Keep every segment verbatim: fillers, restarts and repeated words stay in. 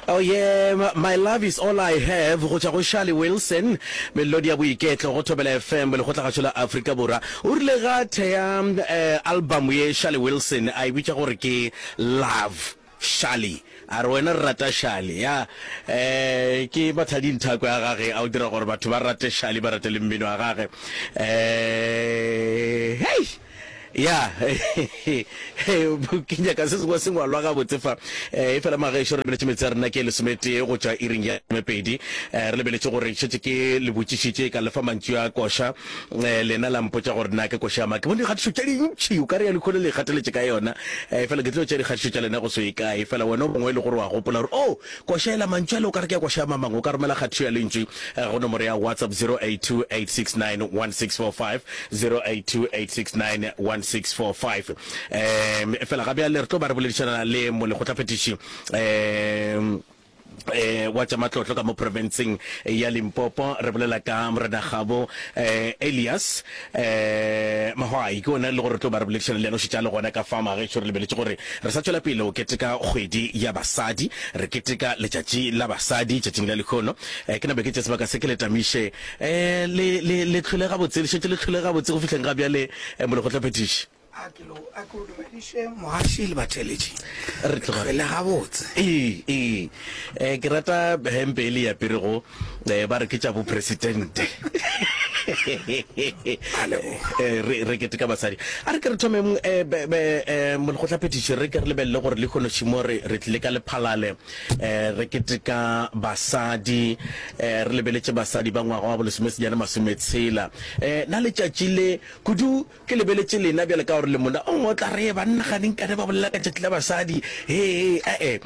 Oh yeah, my love is all I have go tšwa go Charlie Wilson, melodi ya boiketlo go Thobela F M, lekgotlagašo la Afrika Borwa. O rile ga thea eh, album ye Charlie Wilson a e bitša gore ke Love Charlie. A re wena re rata Charlie ya eh ke mathadi nthako ya gage a o dira gore batho ba rate Charlie, ba rate le mmino wa gage. Eh hey ya ke nyaka se sengwe se ngwalwa gabotse fa. E fela magešo, re lebeletše metse ya rena ke lesometee go tšwa iring ya mepedi. Re lebeletše gore šetše ke le botšišitše ka lefa mantšu a koša, lena la mpotša gore na ke koša ma. Ke bone dikgatišo tše dintši o ka re ya lekhole le kgateletše ka yona, fela ke tlo tšea dikgatišo tša lena go se kae. Fela wena o mongwe e le gore wa gopola gore o koša ela mantšu ale o ka re ke ya koša ya mamangwe, o ka romela kgatišo ya lentšu go nomoro ya WhatsApp zero eight two, eight six nine, one six four five, zero eight two, eight six nine, one six four five. um fela ga bjale re tlo ba re boledišana le molekgotlaphethiši um eh wa tša matlotlo ka mo provinceng ya Limpopo. Re bolela ka Morena Gabo eh Elias eh Mahwai, ke ona le gore re tlo ba re boledišana le yena, o šetša le gona ka fa magešo. Re lebeletše gore re sa tšwela pele o keteka kgwedi ya basadi, re keteka letšatši la basadi tšatšing la lekgono. eh, ke nabe ke tše sebaka se ke le tamiše eh le le le tlhole gabotse, le šetše le tlhole gabotse go fihleng ga bjale, eh, molekgotlaphethiši? A ke lo a ke o dumediše, mogaši le batheletši. Re tloga le gabotse. Ee, ee, eh ke rata hempe e le ya perego, eh ba re ke tša bo presidente. eh re re keteka basadi. A re ke re thomeng, eh eh molekgotlaphethiši, re ke re lebelele gore le kgonošimo re re tlile ka Lephalale, eh re keteka basadi, eh re lebeletše basadi ba ngwaga wa bolesomesenyane masometshela. eh na letšatši le kudu ke lebeletše lena bjale ka gore le mona o ngwe o tla re banna ganeng kane ba bolela ka tšatši la basadi. He ee,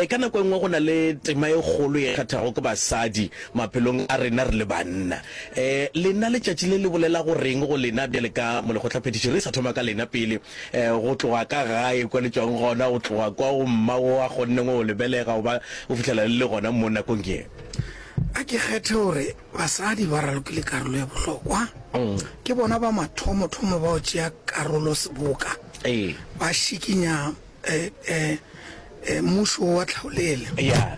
ka nako e nngwe go na le tema e kgolo e kgathago ke basadi maphelong a rena re le banna. um lena letšatši le le bolela go reng go lena bjale ka molekgotlaphethiši? Re sa thoma ka lena pele, um go tloga ka gae kwa le tšwang gona, go tloga kwa go mma o a kgonneng go lebelega go ba go fihlela le le gona mo nakong ye. A ke kgethe gore basadi ba ralokile karolo ya bohlokwa. Ke bona ba mathomothomo ba go tšea karolo seboka, ee ba šikinya eh, eh, eh, mmušo wa tlhaolele ya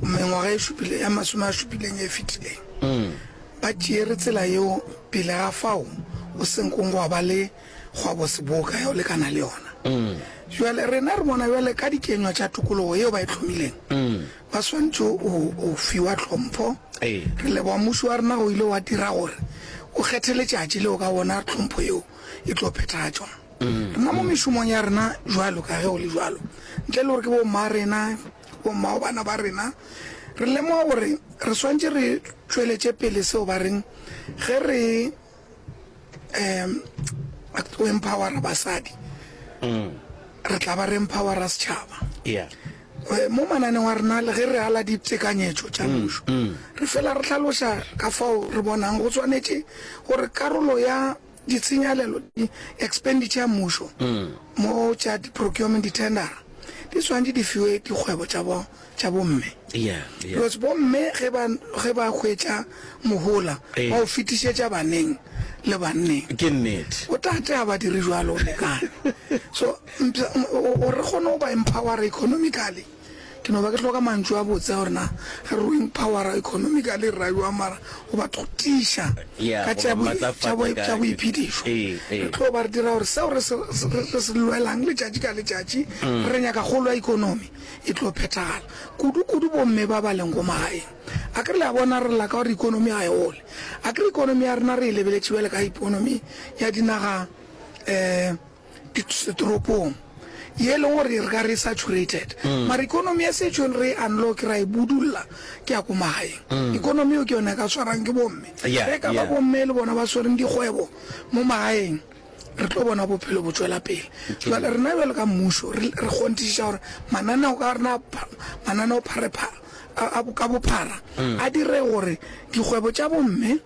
mengwaga e šupile ya masome a šupileng e fetileng. Ba tšeere tsela yeo pele ga fao o senkong gwa ba le kgwabo seboka ya go lekana le yona. Jale rena re bona bjale ka dikenywa tša tokologo yeo ba e tlhomileng, ba swantše o fiwa tlhompho. Ee re leboga mmušo wa rena go ile wa dira gore o kgethe letšatši leo ka bona tlhompho yeo e tlo phethagatšwa. Rena mo mešomong ya rena jwalo ka ge o le jwalo, ntle le gore ke bomma rena, bomma bana ba rena, re lemoga gore re swantše re tšweletše pele seo ba reng ge re um o empowera basadi, re tla ba re empowera setšhaba. Ya Eh, mo mananeng wa rena le ge re ala ditekanyetšo tša mmušo, re fela re hlaloša ka fao re bonang go swanetše gore karolo ya ditshenyalelo, di-expenditure ya mmušo mo tša di-procurement, di-tendera, di swanetše di fiwe dikgwebo tša bo tša bomme, ya ya because bomme ge ba ge ba hwetša mohola, Ee. ba o fetišetša baneng le banneng. Ke nnete. Botate ga ba dire jwalo go lekane. So mpša- o- o re kgone go ba empowera economically, ke no ba ke hloka mantšu a botse gore na ge re o empowera economically re ra jwang, mara go ba tiša Yeah, ka go tša ba boi- matlafatša tša boi- ka- tša boiphedišo. Ee, ee. Re tlo ba re dira gore seo re se re- re se lwelang letšatši ka letšatši, re nyaka kgolo ya economy, e tlo phethagala, kudu-kudu bomme ba ba leng ko magaeng. A ke re le a bona re lla ka gore economy ga e gole. A ke re economy ya rena re e lebeletše bjale ka economy ya dinaga um ditoropong ye e leng gore re ka re e saturated, mara economy ya setšong re e unlock, ra e budulla ke ya ko magaeng. Economy eo ke yona e ka tshwarang ke bomme. Yeah, Ge ka ba yeah. bomme le bona ba swereng dikgwebo mo magaeng, re tlo bona bophelo bo tšwela pele. Jale rena bjalo ka mmušo re re kgonthišiša gore mananeo ka rena mananeo pharephare a a ka bophara a dire gore dikgwebo tša bomme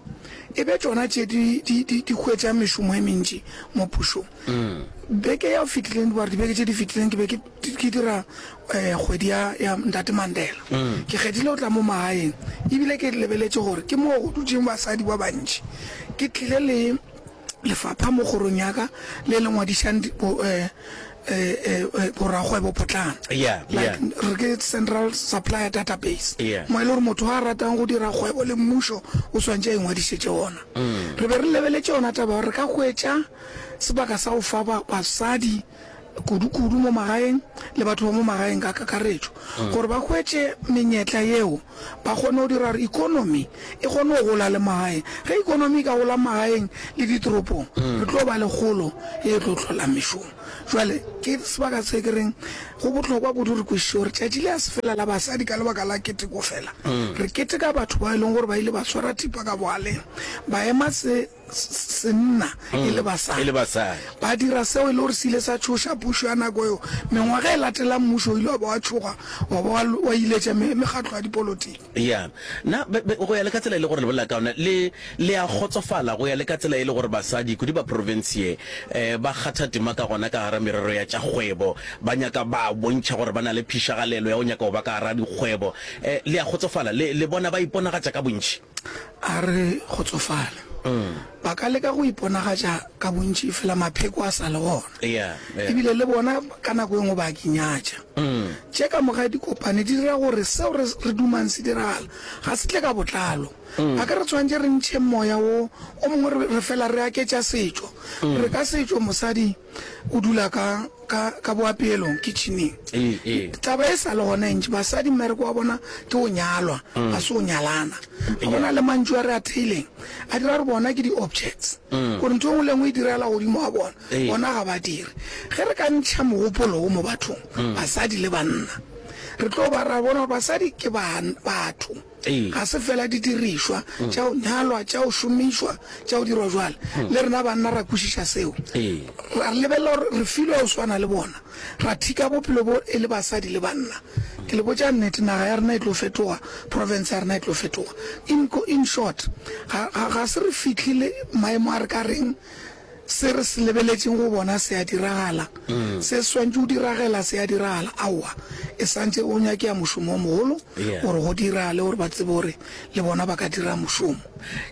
e be tšona tše di di di di hwetša mešomo e mentši mo pušong. Beke ya fetileng, gore dibeke tše di fetileng, ke be ke ke dira um kgwedi ya ya Ntate Mandela. Ke kgethile go tla mo magaeng, ebile ke lebeletše gore ke mo go dutšeng basadi ba bantši. Ke tlile le lefapha mo kgorong ya ka le le ngwadišang di- bo, eh, eh, eh, eh, borakgwebo potlana. Yeah, Like yeah. re ke central supplier database. Yeah. Mo e le gore motho a ratang go dira kgwebo le mmušo o swantše a ingwadišetše ona. Mm. Re be re lebeletše yona taba ya gore re ka hwetša sebaka sa go fa ba, basadi kudu-kudu mo magaeng le batho ba mo magaeng ka kakaretšo Mm. gore ba hwetše menyetla yeo ba kgone go dira gore economy e kgone go gola le magaeng. Ge economy e ka gola magaeng le ditoropong, Mm. re tlo ba le kgolo ye e tlo hlola mešomo. Jwale ke sebaka se ke reng go bohlokwa kudu re kwešiše gore tšatši le a se fela la basadi ka lebaka la keteko fela. Mm. Re keteka batho ba e leng gore ba ile ba swara thipa ka bogaleng, ba ema se, senna e le basadi. E le basadi. Ba dira seo e le gore se ile sa tšhoša pušo ya nako eo. Mengwaga e latelang mmušo o ile wa ba wa tšhoga wa ba wa, wa iletša me, mekgatlo ya dipolotiki. Ya. Na, be, be, go ya le ka tsela e le gore le bolela ka yona, le, le a kgotsofala go ya le ka tsela e le gore basadi, kudu ba profense ye, eh, ba kgatha tema ka gona ka gara merero ya tša kgwebo, ba nyaka, ba bontšha gore ba na le phišagalelo ya go nyaka go ba ka gara dikgwebo. Eh, le a kgotsofala? Le, le bona ba iponagatša ka bontši? A re kgotsofale. Ba ka leka go iponagatša ka bontši efela mapheko a sa le gona. Yeah, yeah. Ebile le bona ka nako e nngwe ba a ke nyatša. Tše ka moka di kopane di dira gore seo re, re dumang se diragala ga se tle ka botlalo. A ke re tshwanetše re ntšhe moya wo o mongwe re, re fela re aketša setšo. Re ka setšo mosadi o dula ka, ka, ka boapeelong, kitcheneng. Ee, ee. Taba e sa le gona e ntši. Basadi mmereko wa bona ke go nyalwa, ga se go nyalana. Ga go na le mantšu a re a theileng a dira gore bona ke di-objects, gore ntho e nngwe le e nngwe e direla godimo ga bona, Ee. bona ga ba dire. Ge re ka ntšha mogopolo wo mo bathong, basadi le banna, re tlo ba ra bona gore basadi ke ban-, batho. Ee. Ga se fela didirišwa tša go nyalwa, tša go šomišwa, tša go dirwa jwale. Le rena banna ra kwešiša seo. Ee. Ra lebelela gore re filwe go swana le bona, ra thika bophelo bo e le basadi le banna. Ke le botša nnete, naga ya rena e tlo fetoga, province ya rena e tlo fetoga. In, in short, ga, ga, ga se re fihlile maemo a re ka reng se re se lebeletšeng go bona se a diragala, se swantše go diragela se a diragala. Aowa, e santše o nyakea mošomo o mogolo Yeah. gore go diragale, gore ba tsebe gore le bona ba ka dira mošomo.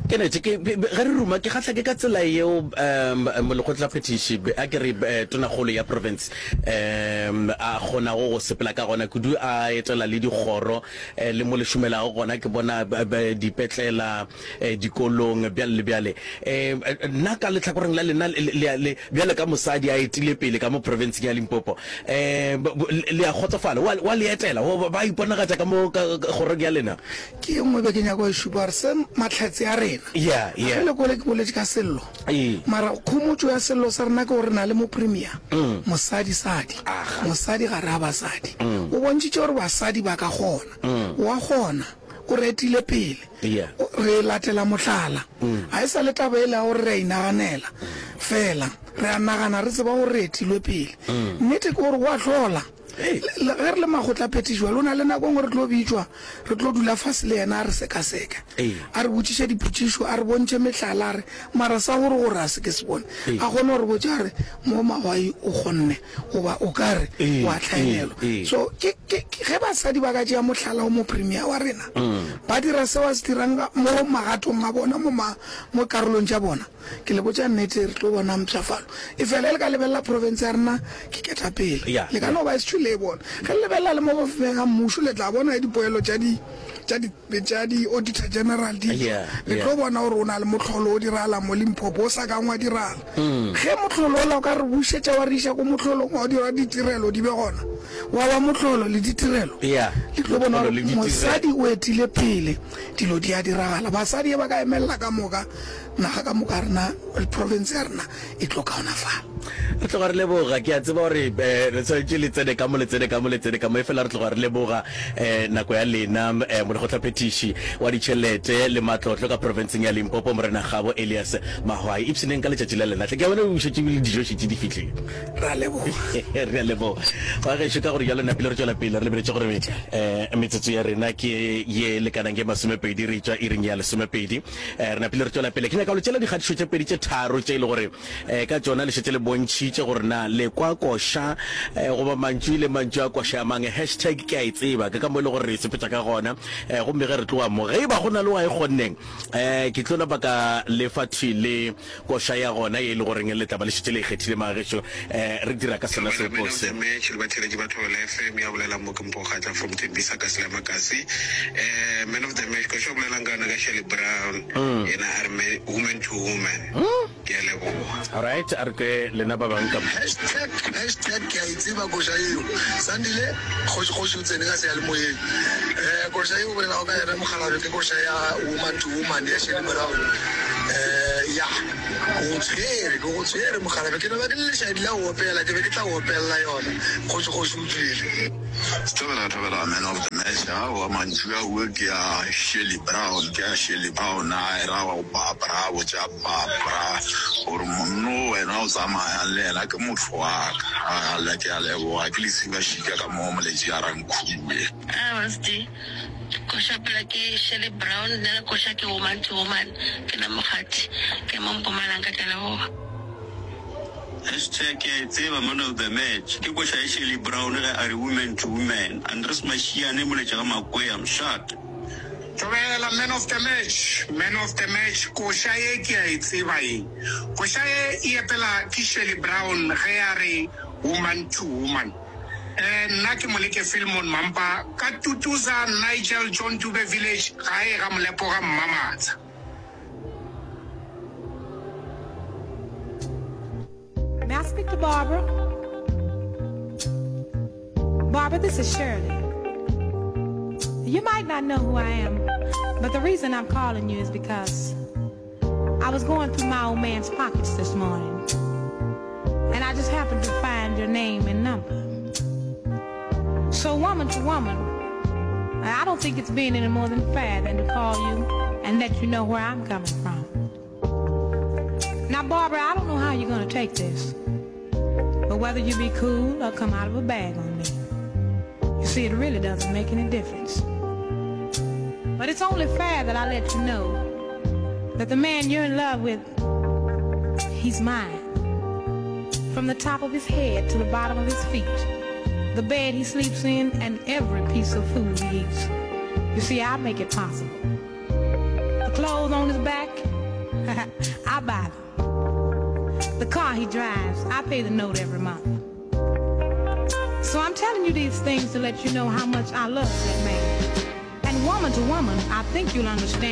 Ke nete, ke, be, be, ge re ruma, ke kgahla ke ka tsela yeo, um, molekgotlaphethiši, be, a ke re, eh, tonakgolo ya province, um, a kgonago go sepela ka gona kudu, a etela le dikgoro, eh, le mo le šomelago gona, ke bona, be, be, dipetlela, eh, dikolong, bjale le bjale. Eh, nna ka lehlakoreng la lena, le, le, le, bjale ka mosadi a etile pele ka mo provinceng ya Limpopo, eh, bo, bo, le a kgotsofala, wa, wa le etela, wa, ba iponagatša ka mo ka, ka kgorong ya lena? Ke e nngwe be ke nyaka go e šupa gore se mahlatse a rena. Yeah, yeah. Ge le kwele ke boletše ka sello. Ee. Mara khomotšo ya sello sa rena ke gore re na le mopremier, mosadi sadi, Aga. mosadi gare ga basadi. O bontšhitše gore basadi ba ka kgona. Wa kgona, o re etile pele. Yeah. O, re latela mohlala. Ga e sa le taba ele ya gore re a inaganela fela, re a nagana re tseba gore re etilwe pele. Nnete ke gore go a hlola. Hey. Le, le, ge re le makgotlaphethiši jwale, o na le nako e nngwe re tlo bitšwa, re tlo dula fase le yena a re sekaseka, Ee. a re botšiše dipotšišo, a re bontšhe mehlala, a re mara sa gore gore a se ke se bone, Ee. a kgone gore botša a re mo Mawai o kgonne goba o ka re Ee, wa tlhaelelwa. ee, ee. So ke, ke, ke, ge basadi ba ka tšea mohlala o mopremier wa rena, ba dira seo a se dirang ka, mo magatong a bona, mo ma, mo karolong tša bona, ke le botša nnete re tlo bona mpshafalo. E fela e le ka lebelela province ya rena ke ketapele. Yeah, Le ka yeah. no ba e se le bona. Ge le lebelela le mo mafapeng a mmušo, le tla bona dipoelo tša di, tša di, tša di auditor general di tšwa. Yeah, Le yeah. tlo bona gore o na le mohlolo o diragalang mo Limpopo o sa kang wa diragala. Ge mohlolo ola o ka re bušetša wa re iša ko mohlolong wa dira ditirelo di be gona, wa ba mohlolo le ditirelo, Yeah. le tlo bona Mohlolo gore le ditirelo. mosadi o etile pele, dilo di a diragala. Basadi ba ka emelela ka moka, naga ka moka rena, province ya rena e tlo kaonafala. Re tloga re leboga, ke a tseba gore, eh, re tshwanetše le tsene ka mo, le tsene ka mo, le tsene ka mo, efela re tloga re leboga, eh, nako ya lena, eh, molekgotlaphethiši wa ditšhelete le matlotlo ka provinceng ya Limpopo, Morena Kgabo Elias Mahwai. Ipshineng ka letšatši la lena hle, ke a bona o šetše ebile dijo šetše di fihlile. Re a leboga. Re a leboga. Wa gešo, ka gore jalo napile re tšwela pele re lebeletše gore, eh, metsotso ya rena ke ye lekanang ke masomepedi, re tšwa iring ya lesomepedi. Eh, re napile re tšwela pele. Ke nyaka go le tšela dikgatišo tše pedi tše tharo tše e le gore, eh, ka tšona le šetše le bontšhitše botšišitše gore na le kwa koša eh, goba mantšu le mantšu a koša a mang. Hashtag ke a e tseba, ke ka mo e le gore re e sepetša ka gona. eh, Gomme ge re tloga mo, ge e ba go na le wa e kgonneng, eh, ke tlo napa ka lefa thwi le koša ya gona ye e le goreng le tla ba le šetše le e kgethile magagešo. eh, Re dira ka sona Thobela sepo Man of se. the Match le batheeletši ba Thobela F M ya bolelang mo ke Mpho Kgatla from Tembisa ka Selamakasi. Eh Man of the Match koša o bolelang ka yona ka Shirley Brown yena a re me- woman to woman. Ke a leboga. Alright, a re ke lena ba bang ka mo. Hashtag, hashtag ke a e tseba koša yeo. Sandile, kgoši kgoši o tsene ka seyalemoyeng. Eh, koša yeo o bolelago ka yona mokgalabje ke koša ya Woman to Woman ya Shirley Brown. Eh, ya, ke go tshwere, ke go tshwere mokgalabje. Ke no ba ke le lešaedi la go opela, ke be ke tla go opelela yona. Kgoši kgoši o tšwele. Thobela Thobela Man of the Match aowa mantšu a ue ke a Shirley Brown ke a Shirley Brown a era wa go Barbara a botša Barbara gore monno wena o tsamayang le yena ke motho wa ka a ke a leboga ke lesiba šika ka mo moletši a rankhue. Awa, koša pela ke Shirley Brown, nna le koša ke Woman to Woman, ke nna Mokgati, ke mo Mpumalanga, ke a leboga. Hashtag ke a e tseba Man of the Match ke koša ya Shirley Brown ge a re woman to woman. Andres Mashiane moletši ga Makwea Mshate. Thobela Man of the Match, Man of the Match koša ye ke a e tseba ye. Koša ye e epela ke Shirley Brown ge a re woman to woman. Eh nna ke Moleke Philemon Mampa ka Tutuza Nigel John Dube Village gae ga Molepo ga Mmamatsha. May I speak to Barbara? Barbara, this is Shirley. You might not know who I am, but the reason I'm calling you is because I was going through my old man's pockets this morning, and I just happened to find your name and number. So woman to woman, I don't think it's being any more than fair than to call you and let you know where I'm coming from. Now, Barbara, I don't know how you're gonna take this, but whether you be cool or come out of a bag on me, you see, it really doesn't make any difference. But it's only fair that I let you know that the man you're in love with, he's mine. From the top of his head to the bottom of his feet, the bed he sleeps in, and every piece of food he eats. You see, I make it possible. The clothes on his back, I buy them. The car he drives, I pay the note every month. So I'm telling you these things to let you know how much I love that man. And woman to woman, I think you'll understand.